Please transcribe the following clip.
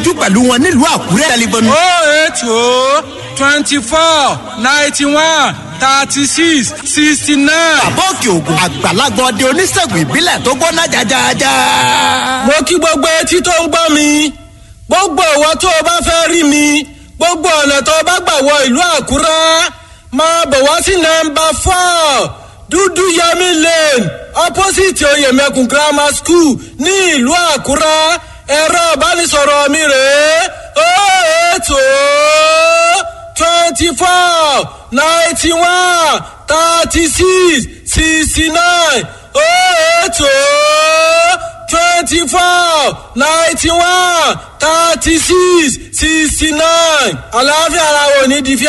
dijú pẹ̀lú wọn nílùú Àkúrẹ́. Tẹlifóònù 080 24 91 36 69. Bàbá Òkè Ògùn àgbàlagbà ọdẹ oníṣègùn ìbílẹ̀ tó gbóná jajaja. Mo kí gbogbo etí tó ń gbọ́ mi, gbogbo ìwọ tó o bá fẹ́ rí mi, gbogbo ọ̀nà tó o bá gbà wọ ìlú Àkúrẹ́, máa bọ̀ wá sí nọ́mbà 4 Dúdú Yẹmí Lane, opposite Oyèmẹkùn Grammar School ní ìlú Àkúrẹ́. Ẹ̀rọ ìbánisọ̀rọ̀ mi rèé: 080 24 91 36 69, 080 24 91 36 69. Àlàáfíà ara wo ní di fíà.